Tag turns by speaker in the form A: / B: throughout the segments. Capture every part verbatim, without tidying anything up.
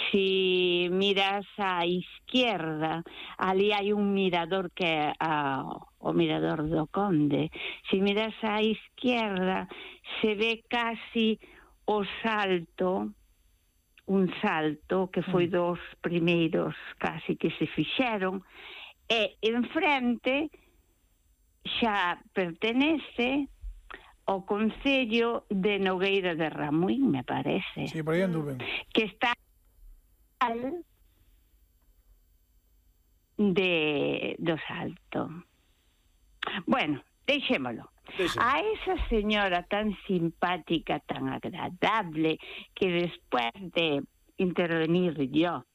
A: si miras á izquierda, ali hai un mirador que é a, o mirador do Conde. Si miras á izquierda, se ve casi o salto, un salto que foi dos primeiros casi que se fixeron, e enfrente xa pertenece ao concello de Nogueira de Ramuín, me parece.
B: Sí, por aí anduven.
A: Que está de do salto. Bueno, deixémolo.
C: Deixemos.
A: A esa señora tan simpática, tan agradable, que después de intervenir yo,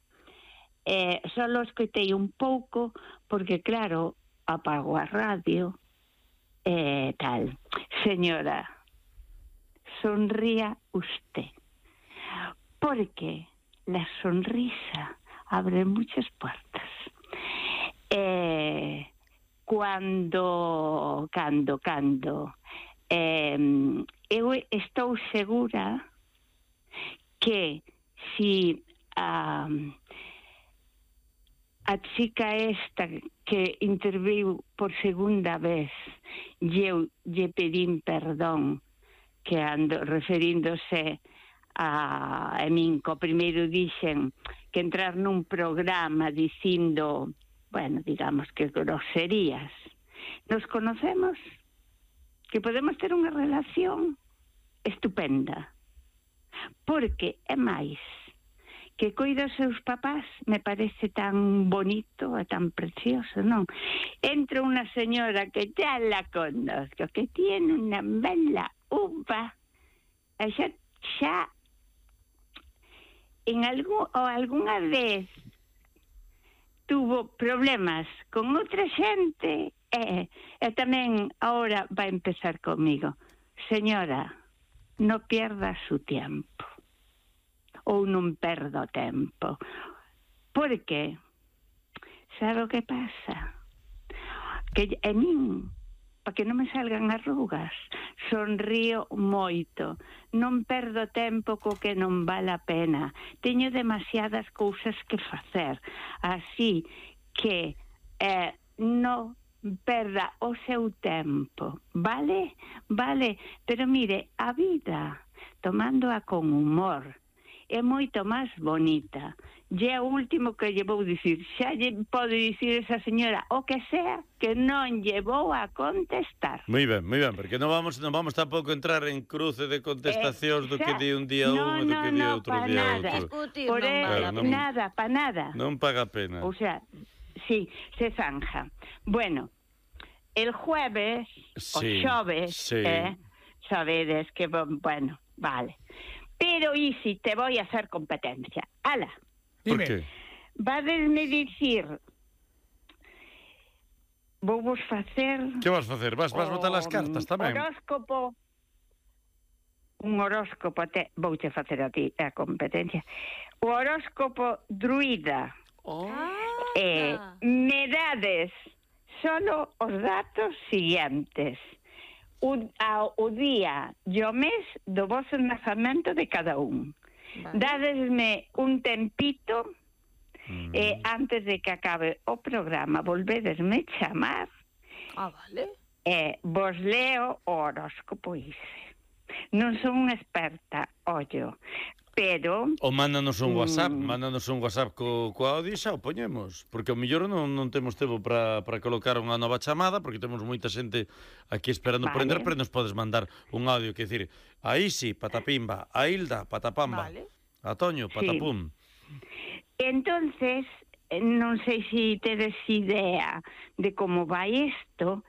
A: eh, solo escoitei un pouco, porque claro, apago a radio, eh, tal. Señora, sonría usted, porque la sonrisa abre muchas puertas. Eh, Cando, cando, cando, eh, eu estou segura que si a, a chica esta que interviu por segunda vez e eu lle pedín perdón, que ando referíndose a, a min, co primeiro dixen que entrar nun programa dicindo, bueno, digamos que groserías. Nos conocemos, que podemos ter unha relación estupenda, porque é máis que coida os seus papás, me parece tan bonito e tan precioso, non? Entra unha señora que xa la conozco, que tiene unha bela uva, e xa, xa en algún, ou algunha vez tuvo problemas con outra xente e, e tamén ahora vai empezar comigo. Señora, no pierda su tiempo, ou non perdo tempo, porque sabe o que pasa? Que a min, para que non me salgan arrugas, sonrío moito, non perdo tempo co que non vale a pena, teño demasiadas cousas que facer, así que eh, non perda o seu tempo, vale? Vale, pero mire, a vida, tomándoa con humor, é moito máis bonita. E é o último que lle vou dicir. Xa lle pode dicir esa señora o que sea que non lle vou a contestar.
C: Moi ben, moi ben, porque non vamos non vamos tampouco entrar en cruce de contestacións eh, do que di un día
A: no,
C: un e do
A: no,
C: que di
A: no,
C: outro
A: pa
C: día
A: nada.
C: outro.
A: Por
D: non,
A: claro,
C: non,
A: nada, pa nada.
C: Non paga pena.
A: O sea, sí, se zanja. Bueno, el jueves,
C: sí,
A: o xoves,
C: sí.
A: eh, sabedes que, bueno, vale. Pero y si te voy a hacer competencia. Ala.
C: Por qué?
A: Vadesme dicir, vou vos facer...
C: Que vas facer? Vas, vas botar as cartas tamén?
A: Horóscopo. Un horóscopo, te, vouche facer a ti a competencia. O horóscopo druida.
D: Oh.
A: Eh, me dades solo os datos siguientes. O, a, o día e o mes do vosso nacemento de cada un. Vale. Dadesme un tempito mm. eh, antes de que acabe o programa, volvedesme chamar.
D: Ah, vale.
A: E eh, vos leo o horóscopo ise. Non son unha experta, ollo, pero...
C: O mándanos un WhatsApp, mm, mándanos un WhatsApp co, co audio e xa o poñemos, porque ao mellor non, non temos tempo para para colocar unha nova chamada, porque temos moita xente aquí esperando vale. por entrar, pero nos podes mandar un audio, que decir, a Isi, patapimba, a Hilda, patapamba, vale. a Toño, patapum.
A: Sí. Entonces, non sei se tedes idea de como vai isto,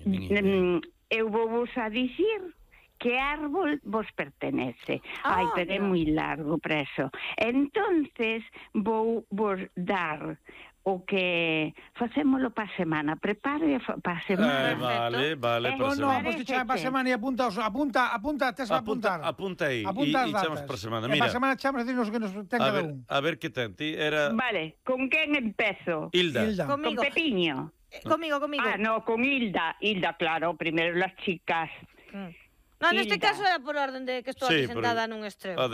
A: mm, eu vou vos a dicir que árbol vos pertenece. Ah, Ai, pero é moi largo para eso. Entonces, vou vos dar o que facémolo pa semana. Prepare pa semana.
C: Eh, vale, vale,
B: eh, para semana. No, pois ti pa semana e apunta, apunta, apunta, tes a apuntar.
C: Apunta aí,
B: apunta
C: e, e chamos para semana. Mira,
B: para semana chamos a decirnos que nos ten cada un.
C: A ver que ten, ti era...
A: Vale, con quen empezo?
C: Hilda.
B: Hilda.
A: Con Pepiño.
D: Eh, comigo, comigo.
A: Ah, no, con Hilda. Hilda, claro, primero las chicas.
D: Mm. No, neste caso era por orden de que estou
C: sí,
D: aquí sentada nun estreo.
C: Ah,